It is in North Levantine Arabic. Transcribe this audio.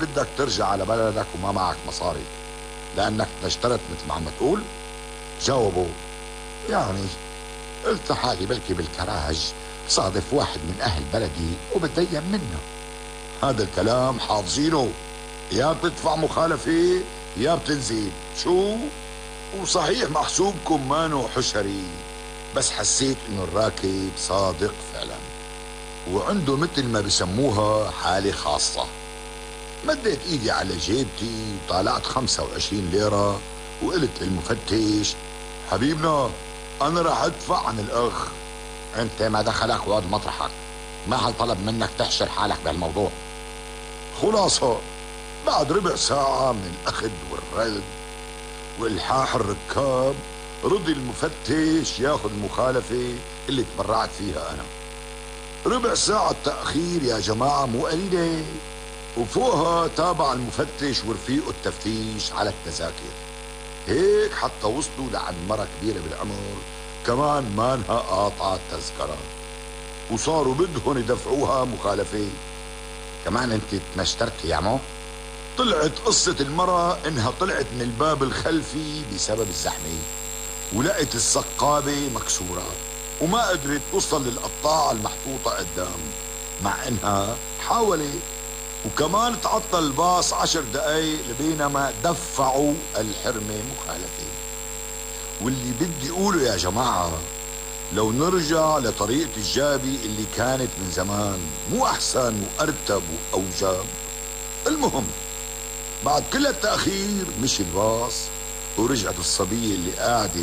بدك ترجع على بلدك وما معك مصاري لأنك اشترت مثل ما عم تقول؟ جاوبوا. يعني قلت حالي بلكي بالكراج صادف واحد من أهل بلدي وبتدين منه. هذا الكلام حافظينه، يا بتدفع مخالفة يا بتنزل. شو؟ وصحيح محسوبكم مانو حشري، بس حسيت انه الراكب صادق فعلا وعنده مثل ما بسموها حالة خاصة. مديت ايدي على جيبتي وطالعت 25 ليرة وقلت للمفتش: حبيبنا انا راح ادفع عن الاخ. انت ما دخلك وقعد مطرحك، ما حد طلب منك تحشر حالك بهالموضوع. خلاصة بعد ربع ساعة من الاخذ والرد والحاح الركاب رضي المفتش ياخذ المخالفة اللي تبرعت فيها انا. ربع ساعة تأخير يا جماعة مو قليلة، وفوقها تابع المفتش ورفيقه التفتيش على التذاكر. هيك حتى وصلوا لعند مرة كبيرة بالعمر كمان مانها قاطعة التذكرة، وصاروا بدهم يدفعوها مخالفة. كمان انت تنشترتي يا عمو؟ طلعت قصة المرة انها طلعت من الباب الخلفي بسبب الزحمة ولقت السقابة مكسورة وما قدرت توصل للقطاعة المحطوطة قدام، مع انها حاولت. وكمان تعطل الباص 10 دقايق لبينما دفعوا الحرمة مخالفة. واللي بدي اقوله يا جماعة، لو نرجع لطريقة الجابي اللي كانت من زمان مو احسن وارتب واوجب؟ المهم بعد كل التأخير مشي الباص ورجعت الصبية اللي قاعدة